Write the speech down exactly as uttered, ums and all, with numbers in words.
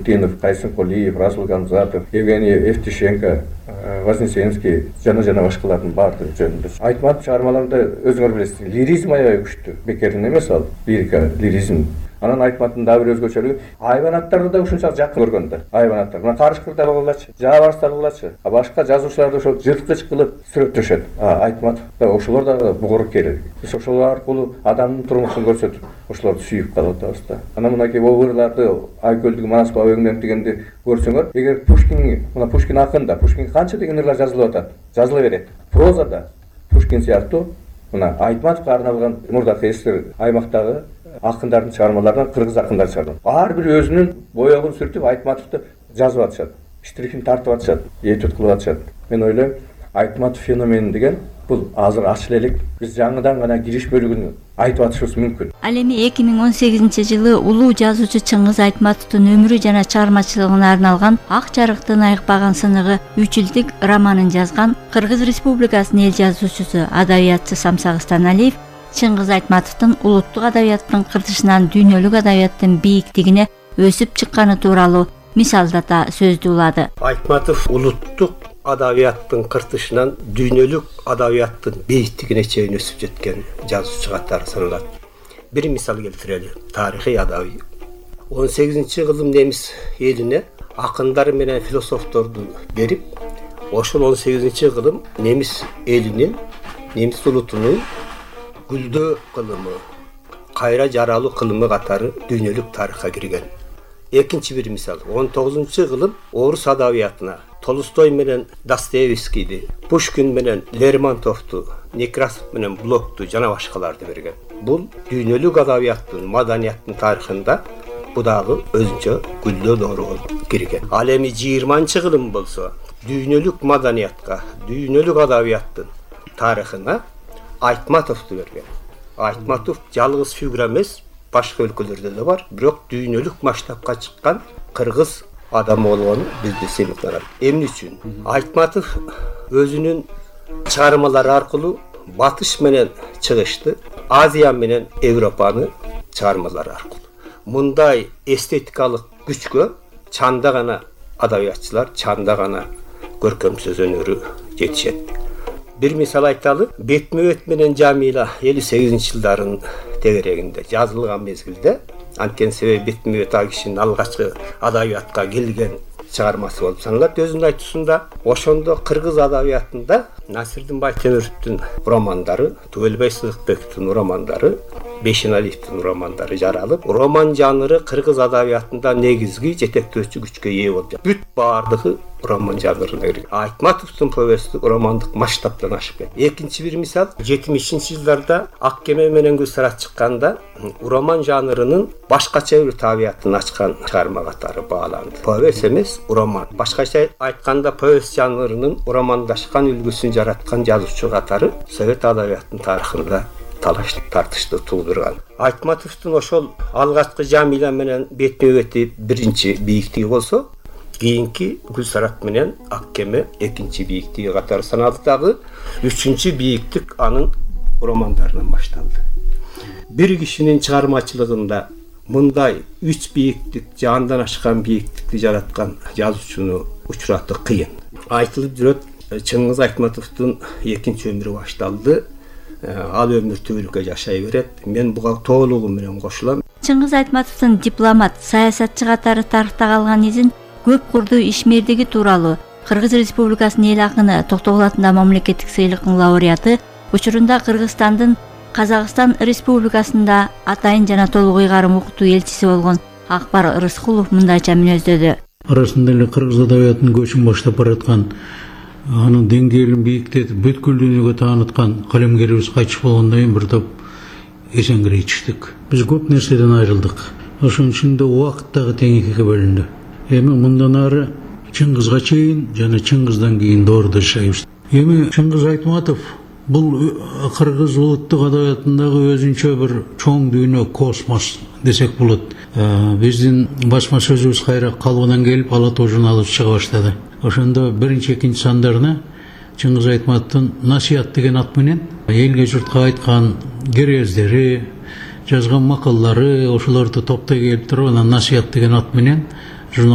Тинов, Кайсын Колиев, Расул Гамзатов, Евгений Евтушенко, Вознесенский жана жана башкалардын баардыгы жөнүндө Айтматов чыгармаларында өзүңөр билесиз, лиризм аябай күчтүү. Бекердин эмес ал, лирика, лиризм. Анан Айтматтын дагы бир өзгөчөлүгү айбанаттарды да ушунчалык жакын көргөн да. Айбанаттар. Мына Карышкырдар кылгылачы, Жаабарстар кылгылачы. А башка жазуучуларды ошол жырткыч кылып сүрөттөшөт. А Айтматов да ошолор да бугур керек. Биз ошолор аркылуу адамдын турмушун көрсөтүп, ошолорду сүйүп калып атабыз да. Анан мынакей обырларды Айкөлдүк Манас бабегинден дегенди көрсөңөр, эгер Пушкин, мына Пушкин акында, Пушкин канча деген ырлар жазылып атат, жазыла берет. Прозада Пушкин сыяктуу мына Айтматовго арналган мурдакы эсер аймактагы акындардын чыгармаларынан кыргыз акындар чыгарган. Ар бир өзүнүн боёгун сүртүп Айтматовду жазып атышат, штрихин тартып атышат, этюд кылып атышат. Мен ойлойм, Айтматов феномени деген бул азыр ачыла элек. Биз жаңыдан гана кириш бөлүгүн айтып атышыбыз мүмкүн. Ал эми эки миң он сегизинчи жылы улуу жазуучу Чыңгыз Айтматовдун өмүрү жана чыгармачылыгына арналган Ак жарыктын айыкпаган сыныгы үч жылдык романын жазган Кыргыз Республикасынын эл жазуучусу, адабиятчы Самсак Станалиев Чыңгыз Айтматовдун улуттук адабияттын кыртышынан дүйнөлүк адабияттын бийиктигине өсүп чыкканы тууралуу мисалдата сөздү улады. Айтматов улуттук адабияттын кыртышынан дүйнөлүк адабияттын бийиктигине чейин өсүп жеткен жазуучу катары саналат. Бир мисал келтирели. Тарыхый адабий. он сегизинчи кылым немис элине акындар менен философторду берип, ошол он сегизинчи кылым немис элинин, немис улутунун гүлдөө кылымы, кайра жаралуу кылымы катары дүйнөлүк тарыхка кирген. Экинчи бир мисал, он тогузунчу кылым орус адабиятына Толстой менен Достоевскийди, Пушкин менен Лермонтовду, Некрасов менен Блокту жана башкаларды берген. Бул дүйнөлүк адабияттын, маданияттын тарыхында бу дагы өзүнчө гүлдөө доору болуп кирген. Ал эми жыйырманчы кылым болсо, дүйнөлүк маданиятка, дүйнөлүк адабияттын тарыхына Айтматовду берген. Айтматов жалгыз фигура эмес, башка өлкөлөрдө да бар, бирок дүйнөлүк масштабка чыккан кыргыз адамы болгону бизде сыймыкталат. Эмне үчүн? Айтматов өзүнүн чыгармалары аркылуу батыш менен чыгышты, Азия менен Европаны чыгармалары аркылуу. Мындай эстетикалык күчкө чанда гана адабиятчылар, чанда гана көркөм сөз өнөрү жетишет. Бир мисал айталы, Бетме-бет менен Жамила элүү сегизинчи жылдарын тегерегинде жазылган мезгилде, анткени себеби Бетме-бет ал кишинин алгачкы адабиятка келген чыгармасы болуп саналат. Өзүнүн айтуусунда ошондо кыргыз адабиятында Насирдин Байтемировдун романдары, Түгөлбай Сыдыкбековдун романдары, Бейшеналиевдин романдары жаралып, роман жанры кыргыз адабиятында негизги жетектөөчү күчкө ээ болду. Бүт баардыгы роман жанрына кирген. Айтматовдун повести романдык масштабтан ашып кетти. Экинчи бир мисал, жетимишинчи жылдарда Ак кеме менен Гүлсарат чыкканда роман жанрынын башкача бир табиятын ачкан чыгарма катары бааланды. Повесть эмес, роман. Башкача айтканда повесть жанрынын романдашкан үлгүсүн жараткан жазуучу катары совет адабиятынын тарыхында талаш тартышты туудурган. Айтматовдун ошол алгачкы Жамила менен Бетме-бети биринчи бийиктиги болсо, кийинки Гүлсарат менен Ак кеме экинчи бийиктиги катары саналды. Дагы үчүнчү бийиктик анын романдарынан башталды. Бир кишинин чыгармачылыгында мындай үч бийиктик, жандан ашкан бийиктикти жараткан жазуучуну учуратуу кыйын. Айтылып жүрөт, Чыңгыз Айтматовдун экинчи өмүрү башталды. Ал өмүр түбөлүккө жашай берет. Мен буга толугу менен кошулам. Чыңгыз Айтматовдун дипломат, саясатчы катары тарыхта калган изин көп курдуу ишмердиги тууралуу Кыргыз Республикасынын эл акыны Токтогул атындагы мамлекеттик сыйлыктын лауреаты, учурунда Кыргызстандын Казакстан Республикасында атайын жана толук ыйгарым окутуу элчиси болгон Акбар Рыскулов мындайча мүнөздөдү. Арасында эле кыргыз адабиятынын көчүн баштап бараткан, анын деңгээлин бийиктетип бүткүл дүйнөгө тааныткан калемгерибиз кайтыш болгондон кийин бир топ эсенгирей чыктык. Биз көп нерседен айрылдык. Ошонун ичинде убакыт дагы тең экиге бөлүндү. Эми мындан ары Чыңгызга чейин жана Чыңгыздан кийин доордо жашайбыз. Эми Чыңгыз Айтматов бул кыргыз улуттук адабиятындагы өзүнчө бир чоң дүйнө, космос десек болот. Биздин басма сөзүбүз кайра калыбынан келип, Ала тоо журналы чыга баштады. Ошондо биринчи, экинчи сандарына Чыңгыз Айтматовдун Насият деген ат менен элге журтка айткан керездери, жазган макаллары, ошолорду топтой келип туруп, анан Насият деген ат менен